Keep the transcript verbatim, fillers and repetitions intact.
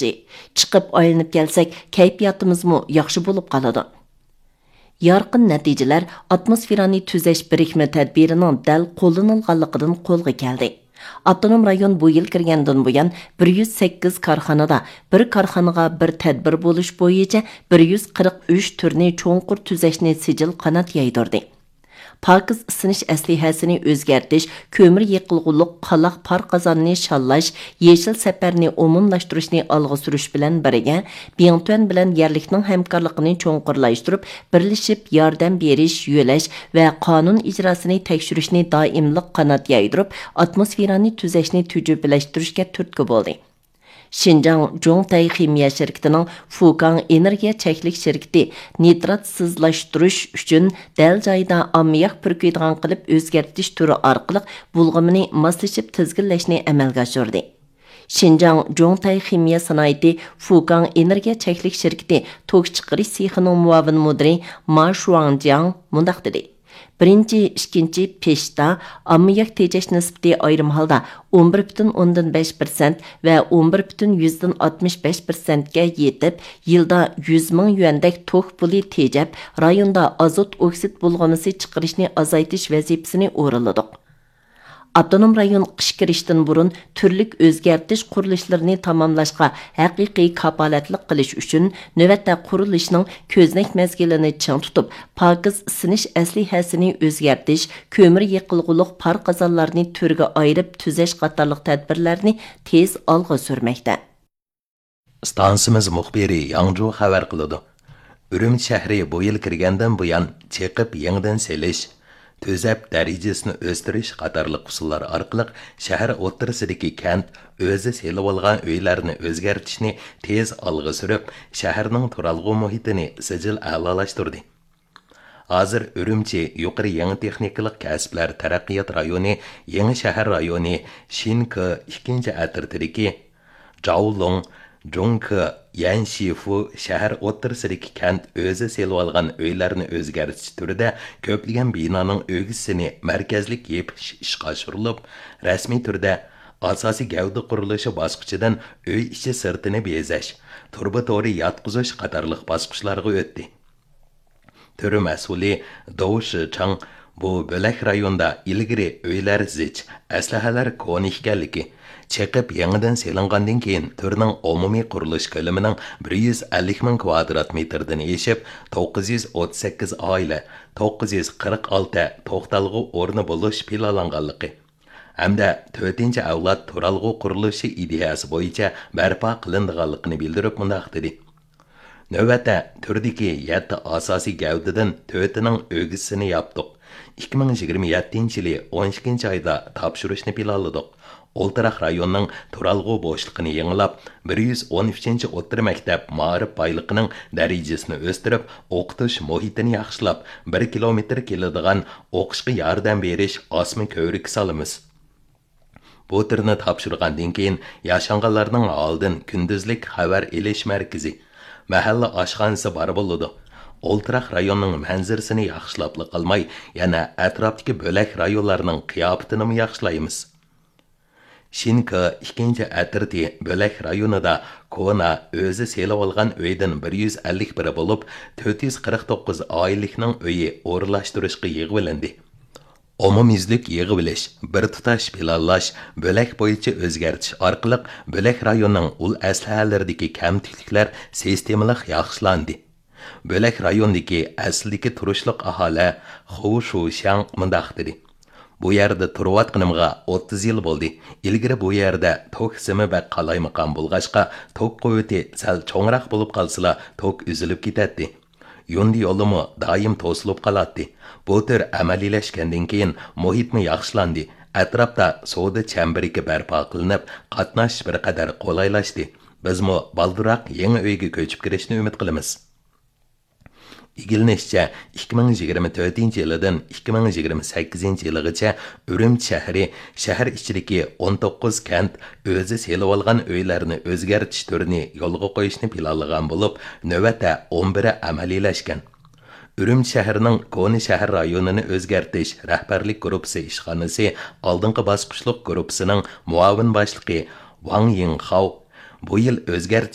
چىقىپ ئايلىنىپ كەلسەك، كەيپىياتىمىزمۇ ياخشى بولۇپ قالىدۇ. يارقىن نەتىجىلەر ئاتموسفېرانى تۈزەش بىرىكمە تەدبىرىنىڭ دەل قوللىنىلغانلىقىدىن قولغا كەلدى. ئاپتونوم رايون بۇ يىل كىرگەندىن بۇيان، بىر يۈز سەككىز كارخانىدا بىر كارخانىغا بىر تەدبىر بولۇش بويىچە بىر يۈز قىرىق ئۈچ تۈرنى چوڭقۇر تۈزەشنى سىجىل قانات يايدۇردى. پاكىز ئىسسىنىش ئەسلىھەسىنى ئۆزگەرتىش، كۆمۈر يېقىلغۇلۇق قالاق پار قازاننى شاللاش، يېشىل سەپەرنى ئومۇملاشتۇرۇشنى ئالغا سۈرۈش بىلەن بىرگە، بىڭتۈەن بىلەن يەرلىكنىڭ ھەمكارلىقىنى چوڭقۇرلاشتۇرۇپ، بىرلىشىپ ياردەم بېرىش، يۆلەش ۋە قانۇن ئىجراسىنى تەكشۈرۈشنى دائىملىق قانات يايدۇرۇپ، ئاتموسفېرانى تۈزەشنى تۈجۈپىلەشتۈرۈشكە تۈرتكە بولدى. شىنجاڭ جۇڭتەي خىمىيە شىركىتىنىڭ فۇكاڭ ئېنېرگىيە چەكلىك شىركىتى نىتراتسىزلاشتۇرۇش ئۈچۈن دەل جايىدا ئاممىياك پۈركۈيدىغان قىلىپ ئۆزگەرتىش تۈرى ئارقىلىق بۇلغىمىنى ماسلىشىپ تىزگىنلەشنى ئەمەلگە ئاشۇردى. شىنجاڭ جۇڭتەي خىمىيە سانائىتى فۇكاڭ ئېنېرگىيە چەكلىك شىركىتى توك چىقىرىش سېخىنىڭ مۇئاۋىن مۇدىرى ما شۇاڭجياڭ مۇنداق دېدى: بىرىنچى، ئىككىنچى پېشتا ئاممىياك تېجەش نىسبىتى ئايرىم ھالدا ئون بىر پۈتۈن ئوندىن بەش پىرسەنت ۋە ئون بىر پۈتۈن يۈزدىن ئاتمىش بەش پىرسەنتكە يېتىپ، يىلدا يۈز مىڭ يۈەندەك توك پۇلى تېجەپ، رايوندا ئازوت ئوكسىد بۇلغىمىسى چىقىرىشنى ئازايتىش ۋەزىپىسىنى ئورۇنلىدۇق. ئاپتونوم رايون قىش كىرىشتىن بۇرۇن تۈرلۈك ئۆزگەرتىش قۇرۇلۇشلىرىنى تاماملاشقا ھەقىقىي كاپالەتلىك قىلىش ئۈچۈن، نۆۋەتتە قۇرۇلۇشنىڭ كۆزنەك مەزگىلىنى چىڭ تۇتۇپ، پاكىز ئىسسىنىش ئەسلىھەسىنى ئۆزگەرتىش، كۆمۈر يېقىلغۇلۇق پار قازانلارنى تۈرگە ئايرىپ تۈزەش قاتارلىق تەدبىرلەرنى تېز ئالغا سۈرمەكتە. ئىستانسىمىز مۇخبىرى ياڭجۇ خەۋەر قىلىدۇ. ئۈرۈمچى شەھىرى بۇ يىل كىرگەندىن بۇيان، چېقىپ يېڭىدىن سېلىش، تۈزەپ دەرىجىسىنى ئۆستۈرۈش قاتارلىق ئۇسۇللار ئارقىلىق شەھەر ئوتتۇرىسىدىكى كەنت ئۆزى سېلىۋالغان ئۆيلەرنى ئۆزگەرتىشنى تېز ئالغا سۈرۈپ، شەھەرنىڭ تۇرالغۇ مۇھىتىنى سىجىل ئەلالاشتۇردى. ھازىر ئۈرۈمچى يۇقىرى يېڭى تېخنىكىلىق كەسىپلەر تەرەققىيات رايونى يېڭى شەھەر رايونى شىنكې ئىككىنچى ئەترىتىدىكى جاۋلۇڭ، جۇڭكې، يەنشىفۇ شەھەر ئوتتۇرىسىدىكى كەنت ئۆزى سېلىۋالغان ئۆيلەرنى ئۆزگەرتىش تۈرىدە كۆپلىگەن بىنانىڭ ئۆگزىسىنى مەركەزلىك يېپىش ئىشقا ئاشۇرۇلۇپ، رەسمىي تۈردە ئاساسىي گەۋدە قۇرۇلۇشى باسقۇچىدىن ئۆي ئىچى سىرتىنى بېزەش، تۇرۇبا تورى ياتقۇزۇش قاتارلىق باسقۇچلارغا ئۆتتى. تۈر مەسئۇلى دو شىچاڭ بۇ بۆلەك رايوندا ئىلگىرى ئۆيلەر زىچ، ئەسلىھەلەر كونا ئىكەنلىكى، چېقىپ يېڭىدىن سېلىنغاندىن كېيىن، تۈرنىڭ ئومۇمىي قۇرۇلۇش كۆلىمىنىڭ بىر يۈز ئەللىك مىڭ كىۋادرات مېتىردىن ئېشىپ، توققۇز يۈز ئوتتۇز سەككىز ئائىلە، توققۇز يۈز قىرىق ئالتە توختالغۇ ئورنى بولۇش پىلانلانغانلىقى، ھەمدە تۆتىنچى ئەۋلاد تۇرالغۇ قۇرۇلۇشى ئىدىيەسى بويىچە بەرپا قىلىنىدىغانلىقىنى بىلدۈرۈپ مۇنداق دېدى: نۆۋەتتە تۈردىكى يەتتە ئاساسىي گەۋدىدىن تۆتىنىڭ ئۆگزىسىنى ياپتۇق. ئىككى مىڭ يىگىرمە يەتتىنچى يىلى ئون ئىككىنچى ئايدا تاپشۇرۇشنى پىلانلىدۇق. ئولتۇراق رايوننىڭ تۇرالغۇ بوشلۇقىنى يېڭىلاپ، بىر يۈز ئون ئۈچىنچى ئوتتۇرا مەكتەپ مائارىپ بايلىقىنىڭ دەرىجىسىنى ئۆستۈرۈپ، ئوقۇتۇش مۇھىتىنى ياخشىلاپ، بىر كىلومېتىر كېلىدىغان ئوقۇشقا ياردەم بېرىش ئاسما كۆۋرۈكى سالىمىز. بۇ تۈرنى تاپشۇرغاندىن كېيىن، ياشانغانلارنىڭ ھالىدىن كۈندۈزلۈك خەۋەر ئېلىش مەركىزى، مەھەللە ئاشخانىسى بار بولىدۇ. ئولتۇراق رايوننىڭ مەنزىرىسىنى ياخشىلاپلا قالماي، يەنە ئەتراپتىكى بۆلەك رايونلارنىڭ قىياپىتىنىمۇ ياخشىلايمىز. شىنكې ئىككىنچى ئەترىتى بۆلەك رايونىدا كونا ئۆزى سېلىۋالغان ئۆيدىن بىر يۈز ئەللىك بىرى بولۇپ، تۆت يۈز قىرىق توققۇز ئائىلىلىكنىڭ ئۆيى ئورۇنلاشتۇرۇشقا يىغىۋېلىندى. ئومۇميۈزلۈك يىغىۋېلىش، بىر تۇتاش پىلانلاش، بۆلەك بويىچە ئۆزگەرتىش ئارقىلىق بۆلەك رايوننىڭ ئۇل ئەسلىھەلىرىدىكى كەمتۈكلۈكلەر سىستېمىلىق ياخشىلاندى. بۆلەك رايونىدىكى ئەسلىدىكى تۇرۇشلۇق ئاھالە خۇ شۇشياڭ مۇنداق دېدى: بۇ يەردە تۇرۇۋاتقىنىمغا ئوتتۇز يىل بولدى. ئىلگىرى بۇ يەردە توك سىمى بەك قالايمىقان بولغاچقا، توك قۇۋۋىتى سەل چوڭراق بولۇپ قالسىلا، توك ئۈزۈلۈپ كېتەتتى. يۇندى يولىمۇ دائىم توسۇلۇپ قالاتتى. بۇ تۈر ئەمەلىيلەشكەندىن كېيىن، مۇھىتمۇ ياخشىلاندى. ئەتراپتا سودا چەمبىرىكى بەرپا قىلىنىپ، قاتناش بىر قەدەر قولايلاشتى. بىزمۇ بالدۇرراق يېڭى ئۆيگە كۆچۈپ كىرىشنى ئۈمىد قىلىمىز. ئىگىلىنىشىچە، ئىككى مىڭ يىگىرمە تۆتىنچى يىلىدىن ئىككى مىڭ يىگىرمە سەككىزىنچى يىلىغىچە ئۈرۈمچى شەھىرى شەھەر ئىچىدىكى ئون توققۇز كەنت ئۆزى سېلىۋالغان ئۆيلەرنى ئۆزگەرتىش تۈرىنى يولغا قويۇشنى پىلانلىغان بولۇپ، نۆۋەتتە ئون بىرى ئەمەلىيلەشكەن. ئۈرۈمچى شەھىرىنىڭ كونا شەھەر رايونىنى ئۆزگەرتىش رەھبەرلىك گۇرۇپپىسى ئىشخانىسى ئالدىنقى باسقۇچلۇق گۇرۇپپىسىنىڭ مۇئاۋىن باشلىقى ۋاڭ يىڭخاۋ بۇ يىل ئۆزگەرتىش